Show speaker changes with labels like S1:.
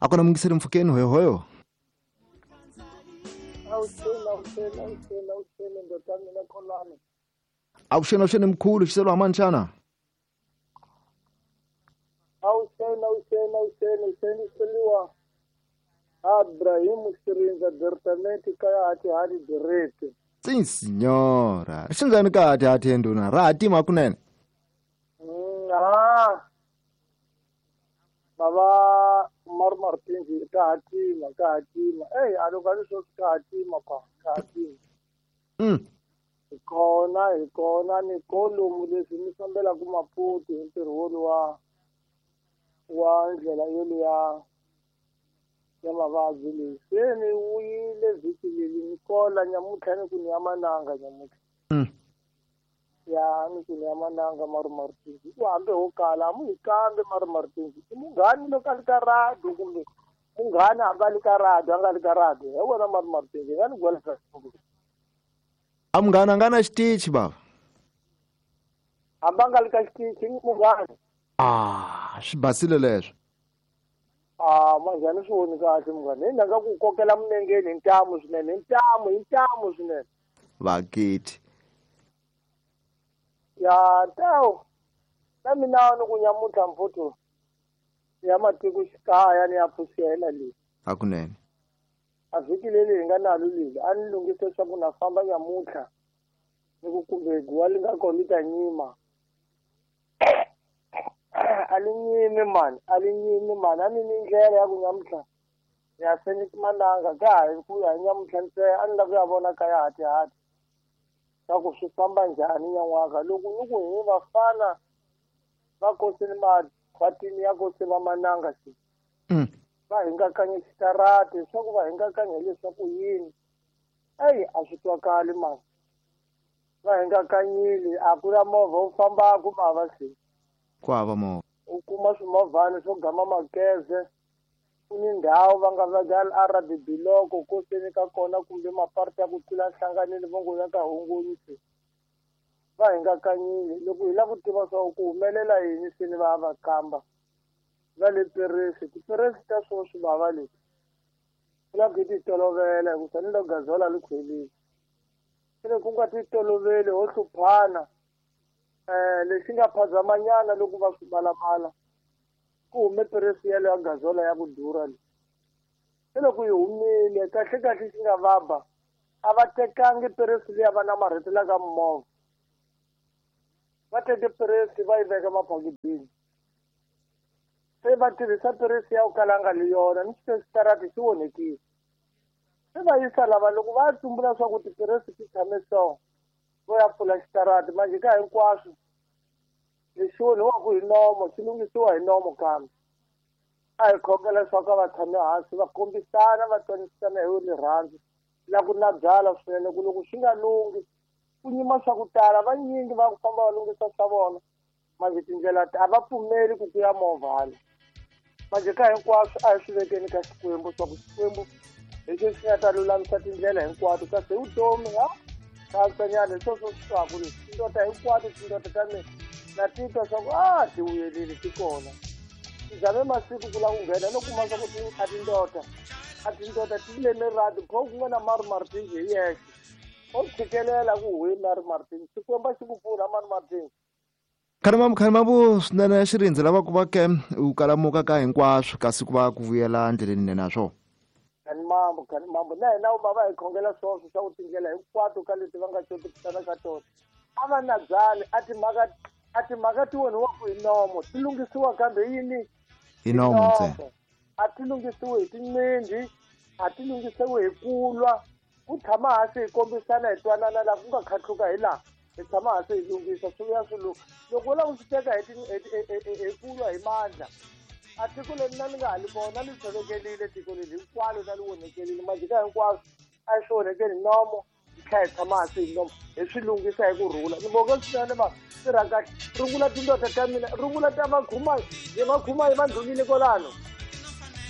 S1: A ku na mungiseri mpfhukeni hoyohoyo.
S2: Avuxeni, avuxeni, avuxeni, avuxeni, ndoda mina Kholani.
S1: Avuxeni, avuxeni mkhulu, xiselo hamani xana?
S2: Avuxeni, avuxeni, avuxeni, avuxeni xiseliwa. Abrahim Xirinza Bertamenti kaya hati hati direte.
S1: Sim senhora. Xinjani ka hati hati enduna? Ra hatima kunene.
S2: Ah. Baba Mar Martins ka hatima, ka hatima. Ey, a loko a ni swo ka hatima pa, ka hatima. Hi kona, hi kona ni kolomu leswi mi fambelaka Maputo hi ntirho woluwa wa ndlela yoluya ya mavabyi leyi. Se ni vuyile vhiki leri ni kola nyamuntlha ni ku ni ya mananga nyamuntlha. Ya ni ku ni ya mananga Maru Martins. U hambi ho kala a mu hi kambe Maru Martins. I munghani loko a li ka radio kumbe munghani hambi a li ka radio a nga li ka radio. Hi wena Maru Martins hi nga ni gwela.
S1: A munghana a nga na xitichi bava.
S2: Hambi a nga li ka xitichi munghani.
S1: Ah, swi basile leswo.
S2: Ah, manjhani swi voni kahle munghana. Hi ndanga ku kokela minengeni hi ntamu swinene, hi ntamu, hi ntamu swinene.
S1: Vakiti.
S2: Ya tawu. Na mina ni ku nyamuntlha mfuthu ya matiko xikaya ni ya pfuxela leyi.
S1: Hakunene.
S2: A vhiki leri hi nga nalo leli a ni lunghise leswaku na famba nyamuntlha ni ku kumbe guwa li nga kona li ta nyima. A li nyimi mani, a li nyimi mani, a ni ni ndlela ya ku nyamuntlha ya seni mananga ka ha hi ku ya nyamuntlha ntsena a ni lava ku ya vona kaya hati hati swa ku swi famba njhani nyan'waka loko ni ku hi vafana va kosini makhwatini ya kosi va mananga xi va hingakanya xitarati leswaku va hingakanya hileswaku yini eyi a swi twakali mani va hingakanyile a ku na movha wu fambaku mava se
S1: ku hava movha
S2: u kuma swimovhani swo gama makeze ku ni ndhawu va nga veka RBB loko koseni ka kona kumbe maparti ya ku tlula nhlanganelo va ngo ya ka hongonyi se va hingakanyile loko hi lava ku tiva swa ku humelela yini se ni va va kamba va le peresi tiperesi ta sweswi vava leti ku lava ku hi ti tolovela hikusa ni loko gazola li khwelile se loko ku nga ti toloveli ho hluphana lexi nga phazamanyana loko va swi malamala ku hume peresi yeleyo ya gazola ya ku durha leyi se loko yi humile kahle kahle xi nga vaba a va tekangi peresi liya va namarhetelaka mimovha va teke peresi va yi veka maphakitini se va tirhisa peresi ya ku kala nga li yona ni xitarati xi onhekile se va yisa lava loko va tsumbula swa ku tiperesi ti tshame so vo ya pfula xitarati manje ka hinkwaswo lexi onhiwaku hi nomo xi lunghisiwa hi nomo kambe a hi khongela leswaku a va tshame hansi va kombisana va twanisana hi rirhandzu la ku na byala swinene ku loko swi nga lunghi ku nyima swa ku tala vanyingi va ku famba va lunghisa swa vona manje tindlela a va pfumeli ku kuya movha hala manje ka hinkwaswo a hi swi vekeni ka Xikwembu swa ku Xikwembu hi xo xi nga ta lulamisa tindlela hinkwato kasi hi vutomi ha katsanyana hi sweswo swi twaku leswi tindoda hinkwato tindoda ta mina na titwa swa ku a ti vuyelile ti kona ti zame masiku ku lava ku nghena no kuma swa ku a tindoda a tindoda ti leme radi kho ku nga na Maru Martins hi yexe o tshikelela ku huye Maru Martins Xikwembu a xi ku pfuna Maru Martins.
S1: Khalimambu swinene xirindzi lava ku va ke u kalamuka ka hinkwaswo kasi ku va ku vuyela ndleleni nene na swona.
S2: Khalimambu, Khalimambu na hina va va hi khongela swoswo swa ku tindlela hinkwato ka leti va nga xotekisana ka tona a va na byali a timhaka ti onhiwaku hi nomo ti lunghisiwa kambe yini
S1: hi nomo ntsena
S2: a ti lunghisiwi hi tinqinghi a ti lunghisiwi hi kulwa ku tshama hansi hi kombisana hi twanana laha ku nga khatluka hi laha hi tshama hansi hi lunghisa swi vuya swi lungha loko u lava ku swi teka hi kulwa hi mandla a tiko leri na ni nga ha li kona li tshovekelile tiko leri hinkwalo na li onhekelile manje ka hinkwaswo a hi swi onhekeli nomo hi tlhela hi tshama hansi hi nomo hi swi lunghisa hi ku rhula ni voke swinene va tirha kahle rungula tindoda ta mina rungula ta vakhumayi hi vakhumayi va ndlulile kwalano.